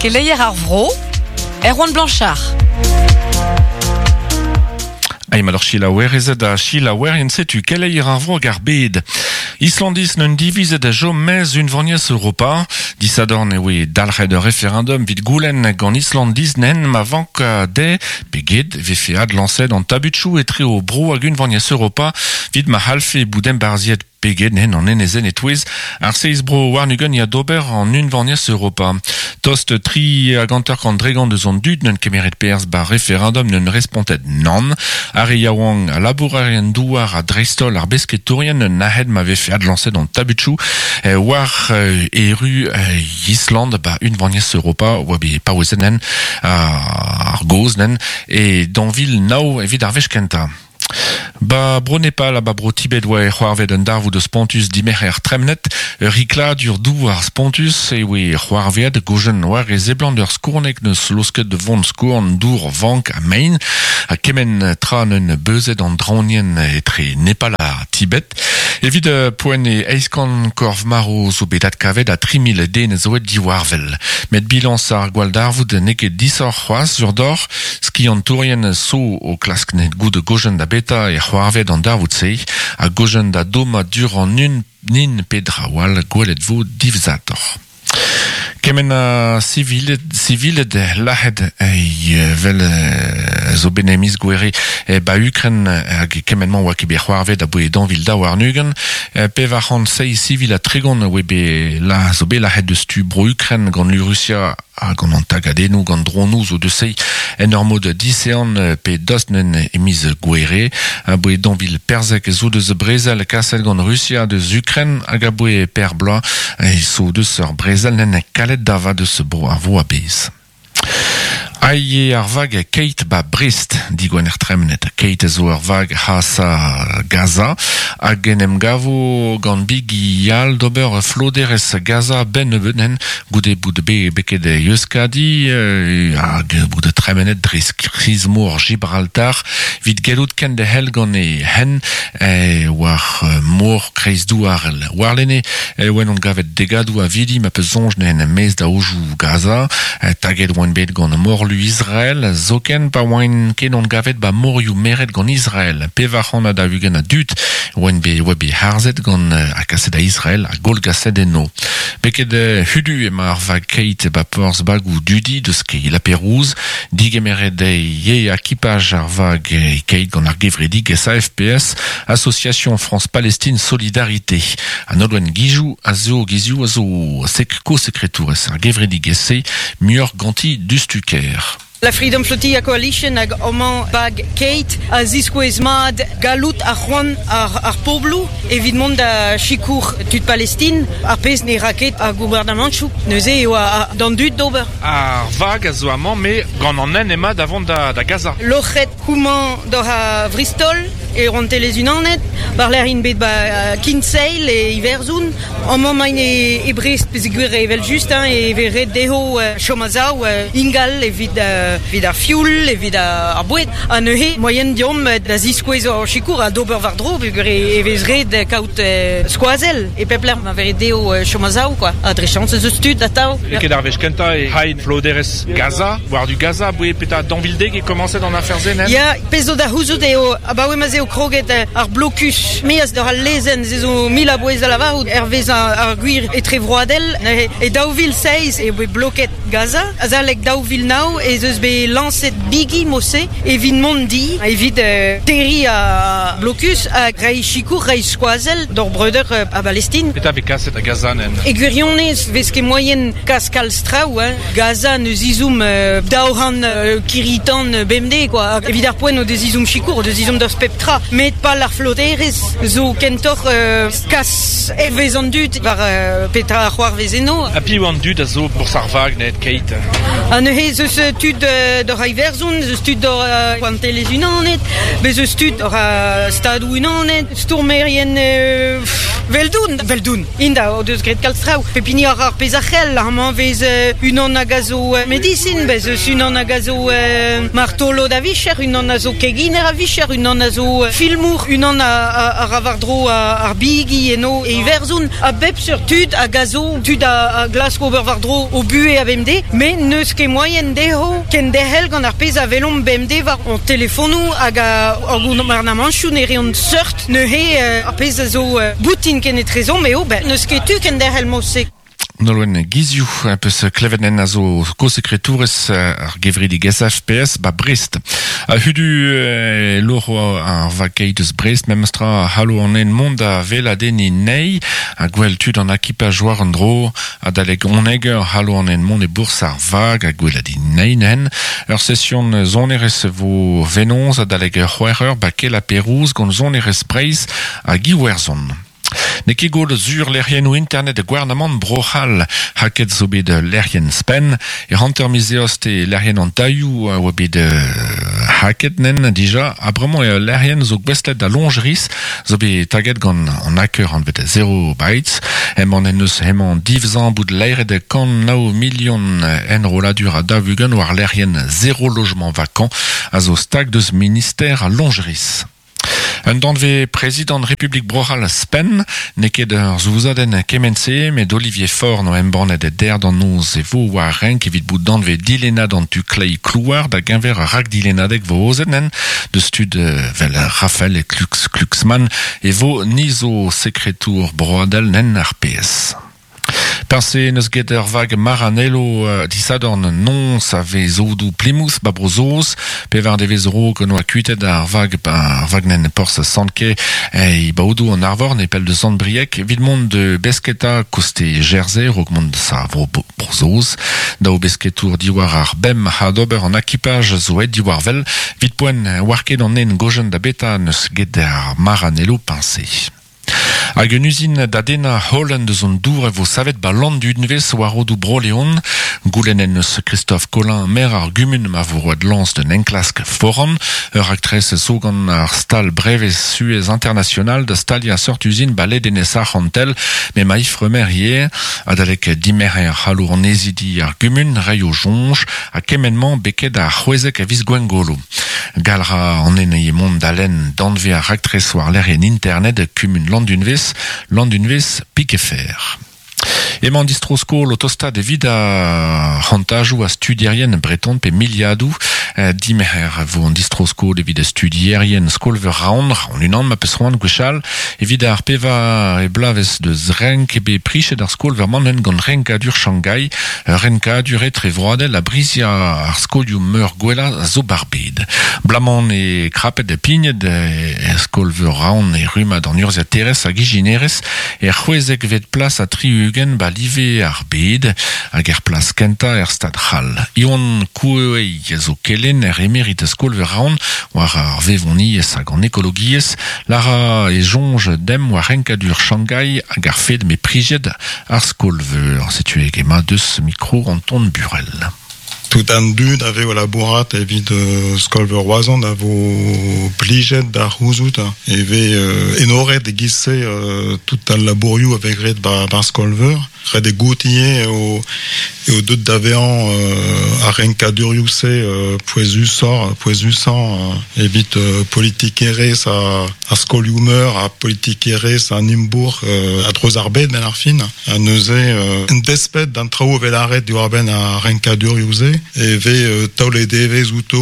Keleier ar vro, Erwan Blanchard. Ai ma selaouerezed ha selaouerien setu keleier ar vro hag ar bed. Islandiz n'un divizet da chom maez unvaniezh Europa. Disadorn e oe dalc'het ur referendum evit goulenn gant Islandiz nen ma vank dezhe pe get e vefe adlañset an tabutchoù etre o bro hag unvaniezh Europa evit ma c'hallfe bout embarzhiet Pegen en an enezenn e-touez ar seizh bro warn-ugent ya d'ober an Unvaniezh Europa. Tost 3 50% deus an dud n'eus kemeret perzh bar referendum n'eus respontet nann. Ar re yaouank a labourerien douar ha dreist-holl ar besketourien un nac'het ma vefe adlañset an tabutchoù war erru Island ba Unvaniezh Europa oa bet paouezet nen ar gaoz nen e 2009 evit ar wech kentañ. Ba bro Nepal ha ba bro Tibet oa e c'hoarvet un darvoud spontus dimerc'her tremnet, ur rikladur douar spontus e oe c'hoarveet gojen war e seblant ur skourneg neus losket vont skourn dour vank ha mein ha kement tra neun beuzet an draonienn etre Nepal ha Tibet. Evit poent e eizh kant korf marv zo bet adkavet ha 3000 den zo aet diwarvel. Met bilañs ar gwalldarvoud n'eo ket disoc'h c'hoazh sur deoc'h. Skiantourien zo o klask net goût gojen da beta e c'hoarvet an darvoud-se ha gojen da dommañ dur an un nin pe dra wall gwelet vo divzatoc'h. Kement a siviled, siviled lac'het vel zo bet miz Gouere ba Ukren hag kement-mañ oa ket bet c'hoarvet aboe 2022. 407 sivil ha 30 oa bet la zo bet lac'het deus tu bro Ukren gant lu Rusia ha gant an tagadennoù gant dronoù zo deus se en ur mod disean pe dost nen e miz Gouere. Aboe 2014 zo deus brezel kaset gant Rusia deus Ukren hag aboe per bloaz zo deus ur brezel nen kalet dava deus bro ar vo a-bezh. Aie ar vag Keit ba Brest digwener tremenet. Keit zo ur vag hasa Gaza hag en em gavo gant bigi all d'ober floderez Gaza ben nebeut nen goude bout be beket Euskadi hag bout tremenet dre skriz-mor Gibraltar vit gellout kenderc'hel gant e hen war mor kreizdouarel. Warlene e oan on gavet degadoù a vidi ma peus soñj nen maez da aojoù Gaza taget oant bet gant morlu Israel zoken pa oant ket on gavet ba morioù meret gant Israel. 440 a dud oant bet oa bet harzet gant ha kaset da Israel ha goal gaset eno. Beket hudu ema ar vag Keit ba porzh bagoù dudi deus kei La Pérouse digemeret e akipaj ar vag Keit gant ar gevredigezh AFPS Association France-Palestine Solidarité. An Nolwenn Gizioù a zo Gizioù a zo sek ko-sekretourez ar gevredigezh-se muioc'h ganti dustuker. La Freedom Flotilla Coalition hag amañ bag Keit a ziskouez mat gallout ar c'hoant ar pobloù evit mont da sikour tud Palestine ar pezh ne ra ket ar gouarnamantoù neuze eo d'an dud d'ober. Ar vag a zo amañ me gant an nen ema da vont da Gaza. Loc'het houmañ d'oc'h a Bristol e Rouantelezh Unanet, war-lerc'h int bet ba Kinsale e Iwerzhon. Amañ maint e Brest peogwir evel-just hein, e vez ret dezho chom a-sav ingal evit evit ar fioul, evit ar boued. Ha neuze moaien deomp da ziskouez hor sikour ha d'ober war-dro peogwir e vez ret kaout skoazell e pep lec'h ma vez ret dezho chom a-sav quoi. Ha dre chañs ez eus tud atav. N'eo ket ar wech kentañ e hain floderezh Gaza, war du Gaza, aboe petra dañvildeg e komañset an afer-se nen? Ya, pezh zo da c'houzout eo abaoe ma 'z eo kroget ar blokus maez d'ar al lezenn se zo mil a bouez da lavarout hervez ar gwir etrevroadel. E 2007 eo bet bloket Gaza. Azalek 2009 ez eus bet lañset bigi mod-se evit mont di, evit terriñ ar blokus ha reiñ sikour, reiñ skoazell d'hor breudeur a Balestin. Petra vez kaset da Gaza nen? E gwirionez vez ket moaien kas kalz traoù, hein. Gaza neus ezhomm 200 kirri-tan bemdez quoi. Evit ar poent o deus ezhomm sikour, o deus ezhomm deus pep tra. Met pal ar floderezh zo kentoc'h kas hervez an dud war petra a c'hoarvez eno. Ha piv an dud a zo bourzh ar vag net Keit? Ha neuze ez eus tud doc'h a Iwerzhon, ez eus tud doc'h Rouantelezh Unanet, bez eus tud doc'h a Stadoù Unanet, stourmerien 'veldoun, 'veldoun int o deus graet kalz traoù. Pep hini a ra ar pezh a c'hell, amañ 'vez unan hag a zo medisin, bez eus unan hag a zo martolod a-vicher, unan a zo keginer a-vicher, unan a zo filmour, unan a ra war-dro ar bigi eno e Iwerzhon. A bep seurt tud hag a zo tud a glask ober war-dro o buhez a-bemdez, met n'eus ket moaien dezho kenderc'hel gant ar pezh a welomp bemdez war hon telefonoù hag ar gouarnamantoù ne reont seurt neuze ar pezh a zo boutin kenetrezomp eo ben n'eus ket tu kenderc'hel mod-se. Nolwenn Gizioù peus klevet nen a zo ko-sekretourez ar gevredigezh FPS ba Brest. Ha hudu loc'ho ar vakeit eus Brest memestra a c'hallo an nen mont da weladenniñ nei ha gwell tud an akipaj war an dro adalek oneg eur c'hallo an nen mont e bourzh ar vag ha gweladiñ nei nen. Ur session sonerezh vo venoz adalek c'hwec'h eur ba Kela Perouz gant sonerezh Breizh hag Iwerzhon. N'eo ket gwall sur lec'hiennoù internet gouarnamant Bro-C'hall. Haket zo bet lec'hienn Spenn. E hanter miz Eost e lec'hienn an tailhoù a oa bet haket nen dija. Ha bremañ eo ul lec'hienn zo gouestlet da loñjeris zo bet taget gant an hacker anvet Zero Bytes. Hemañ en deus hemañ divzañ bout laeret 109 milion enrolladur ha 40 war lec'hienn Zéro Logement Vacant a zo stag deus minister al loñjeris. Un danvez prezidant Republik Bro-C'hall Spenn n'eo ket ur souzadenn kement-se, met Olivier Faure no embannet der d'an noz e vo war renk evit bout danvez dilennad an tu kleiz klouar da geñver ar rakdilennadeg vo aozet nen deus tud vel Raphaël Klux Glucksmann e vo ni zo sekretour broadel nen ar PS. Peñse n'eus get ur vag Maranello disadorn noz a vez odoù Plymouth ba Bro-Saoz. Pevar devezh a-raok en oa kuitet ar vag ar vagnenn porzh Sant-Ke e baodoù an Arvor nepell deus Sant-Brieg evit mont da besketa koste Jersey a-raok mont da Bro-Saoz. Daou besketour diwar ar bemp ha d'ober an akipaj zo aet diwar wel. Evit poent 'oar ket an nen gojenn da beta n'eus get ar Maranello peñse. Hag un uzin da dennañ holen deus an dour e vo savet 'ba Landunvez war rodoù Bro-Leon. Goulennet en deus Christophe Colin, maer ar gumun ma vo roet lañs d'un enklask foran. Ur raktres zo gant ar stal brevez Suez International da staliañ seurt uzin 'ba ledenez Arc'hantel m'emañ Ifremer ivez. Adalek dimerc'her c'hallo annezidi ar gumun reiñ o soñj ha kement-mañ beket ar c'hwezek a viz Gwengolo. Gall 'ra an ene mont da lenn danvez ar raktres war lec'hienn internet kumun Landunvez, Landunvez Piquefer. Emañ distro-skol o tostaat evit ar c'hantajoù a studierien breton pe miliadoù. Dimerc'her vo an distro-skol evit studierien skol-veur Raon, Raon unan ma peus c'hoant gwechall. Evit ar pevar bloavezh deus renk eo bet prichet ar skol-veur-mañ gant renkadur Shanghai. Ur renkadur etrevroadel a brizia ar skolioù-meur gwellañ a zo 'bar bed. Blaman eo krapet ha pignet er skol-veur Raon e rummad an urzhiaterezh hag ijinerezh er c'hwezekvet plas ha 60 'ba live ar bed hag er plas kentañ er Stad c'hall. Iwan Coueuey a zo kelenner emerit skol-veur Raon war ar vevoniezh hag an ekologiezh. Lara e soñj demp war renkadur Shanghai hag ar fed m'eo priziet Ar skol-veur, setu emañ deus mikro Anton Burel. Tout an dud a vez o labourat evit skol-veur Roazhon a vo plijet da c'houzout e vez enoret e-giz-se tout al labourioù a vez graet 'ba skol-veur. Ret eo goût ivez eo eo deuet da vezañ ar renkadurioù-se pouezusoc'h pouezusañ evit politikerezh ar skolioù-meur ha politikerezh an imbourc'h a-dreuz ar bed benn ar fin. Ha neuze, en desped d'an traoù evel lâret diwar-benn ar renkadurioù-se, e vez taolet evezh outo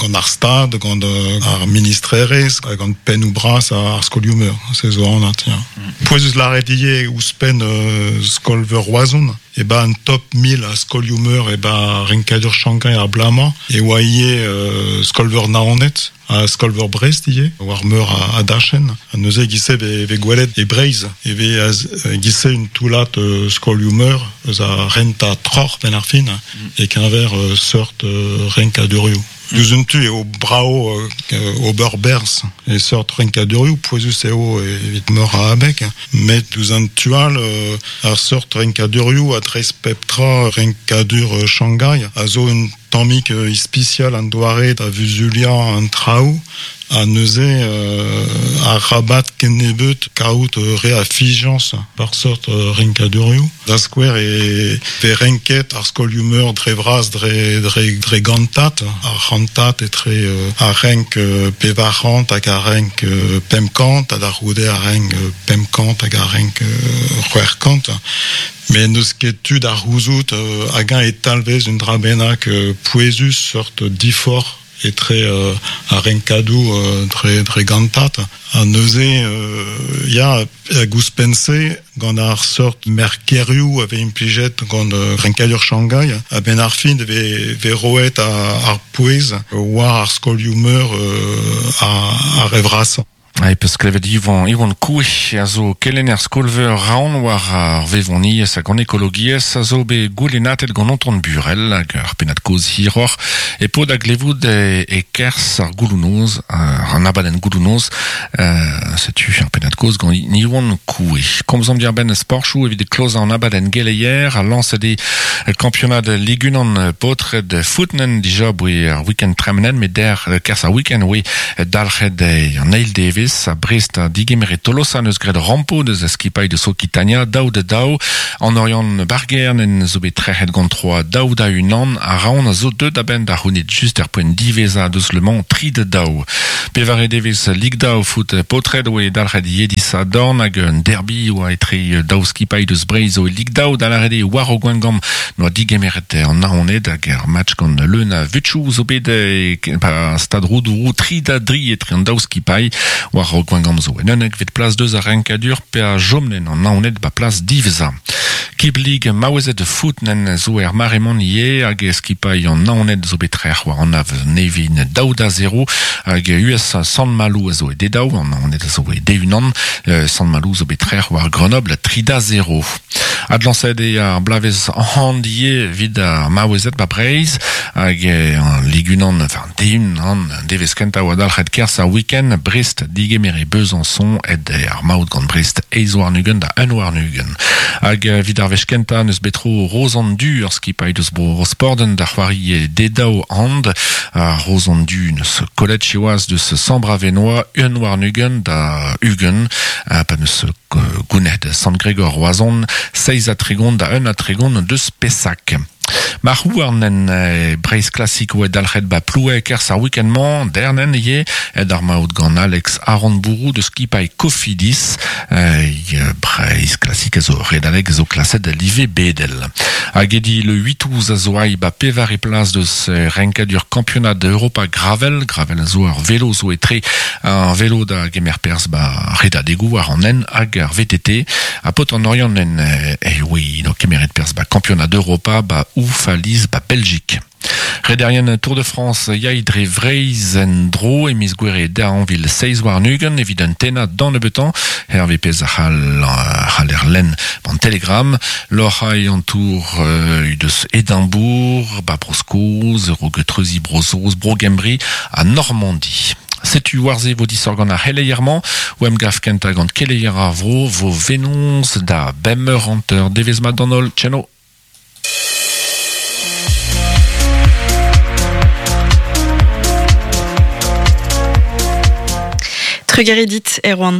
gant ar Stad, gant ar ministrerezh, gant pennoù bras ar skolioù-meur. Se zo anat, ya. Pouezus lâret ivez ouzhpenn skol-veur Roazhon, e ba an top 1000 a skolioù-meur e ba renkadur Shanghai ar bloaz-mañ e oa ivez skol-veur Naoned. Ha skol-veur Brest ivez, war meur a dachenn. Ha neuze e-giz-se e vez gwelet e Breizh e vez e-giz-se un toullad skolioù-meur eus ar rentañ troc'h benn ar fin e-keñver seurt renkadurioù. Diouzh un tu eo brav ober berzh e seurt renkadurioù, pouezus eo evit meur a abeg, met diouzh an tu all ar seurt renkadurioù a dreist pep tra renkadur Shanghai a zo un. tammig ispisial an doare da vuzuliañ an traoù ha neuze arabat kennebeut kaout re a fiziañs war seurt renkadurioù. Da skouer e vez renket ar skolioù-meur dre vras dre dre dre gantad, ar c'hantad etre ar renk 400 hag ar renk 500 ha da c'houde ar renk 500 hag ar renk 600. Met n'eus ket tu da c'houzout hag-eñ e talvez un dra bennak pouezus seurt diforc'h etre ar renkadoù dre dre gantad. Ha neuze ya, hag ouzhpenn-se, gant ar seurt merkerioù a vez implijet gant renkadur Shanghai, a-benn ar fin e vez roet ar pouez war ar skolioù-meur ar re vrasañ. E peus klevet Yvon, Yvon Coué a zo kelenner skol-veur Raon war ar vevoniezh hag an ekologiezh a zo bet goulennatet gant Anton Burel hag ar pennad-kaoz hiroc'h e po da glevout e-kerzh ar gouloù-noz, an abadenn gouloù-noz. Setu ar pennad-kaoz gant Yvon Coué. Komzomp diàr-benn sporchoù evit klozañ an abadenn geleier ha lañset eo kampionad Ligue 1 paotred footnen dija 'boe ar week-end tremenet met dec'h kerzh ar week-end oe Dalc'het eo an eil devezh ha Brest ha digemeret Tolosa n'eus graet rampo deus a skipailh deus Okitania 2-2. An Oriant Bargern en zo bet trec'het gant 3 2-1 ha Raon a zo deuet a-benn da c'hounit just er poent diwezhañ deus Le Mans 3-2. Pevare devezh Ligue 2 foot paotred oe dalc'het ivez disadorn hag un derby oa etre daou skipailh deus Breizh zo e Ligue 2 da lâret eo war o Gwengamp N'oa digemeret an Naoned hag ar match gant leun a vutchoù zo bet e stad Roudourou 3-3 etre an daou skipailh war Gwengamp zo en unnekvet plas deus ar renkadur pe a chomnen an Naoned ba plas diwezhañ. Kib Lig maouezed foot nen zo er mare-man ivez hag skipailh an Naoned zo bet trec'h war an Av Nevin 2-0 hag US Sant-Maloù a zo e D2 an Naoned a zo e D1 Sant-Maloù zo bet trec'h war Grenoble 3-0. Adlañset eo ar bloavezh hand ivez evit ar maouezed 'ba Breizh hag an Lig unan, enfin D1 an devezh kentañ 'oa dalc'het 'kerzh ar week-end. Brest digemere Besançon aet eo ar maout gant Brest 28 da 21. Hag evit ar wech kentañ 'neus bet tro Rozan Du, ur skipailh deus bro Rosporden da c'hoari D2 hand. Ar Rozan Du 'neus kollet siwazh deus Sambre-Avenois 21 da 20 pa 'neus Gouned Sant-Gregor Roazhon, 37 da 31 deus Pessac. Marc'h-houarn en Breizh Classic oa dalc'het ba Ploue e-kerzh ar week-end-mañ, dernen ivez, aet ar maout gant Alex Aranbourou deus skipailh Cofidis. Breizh Classic a zo redadeg zo klaset live bedel. Hag edi le 8 a zo aï ba pevare plas deus renkadur kampionad Europa Gravel. Gravel a zo ur velo zo etre Ar velo da gemer perzh 'ba redadegoù war an hent hag ar VTT. Ha paotr an Oriant en eh oe no kemeret perzh 'ba kampionad Europa 'ba Oufaliz 'ba Beljik. Rederien Tour de France yay dre Vreizh en-dro e miz Gouere 2027 evit un tennañ d'an nebeutañ, hervez pezh a c'haller lenn an Telegram. Loc'hañ an Tour deus Edimbourg, 'ba Bro-Skos, e-raok treuziñ Bro-Saoz, Bro-Gembre ha Normandi. Setu war-se vo disoc'h gant ar c'heleier-mañ. O emgav kentañ gant keleier ar vro vo venoz da bemp eur hanter. Devezh mat d'an holl. Tcheno. Trugarez dit, Erwan.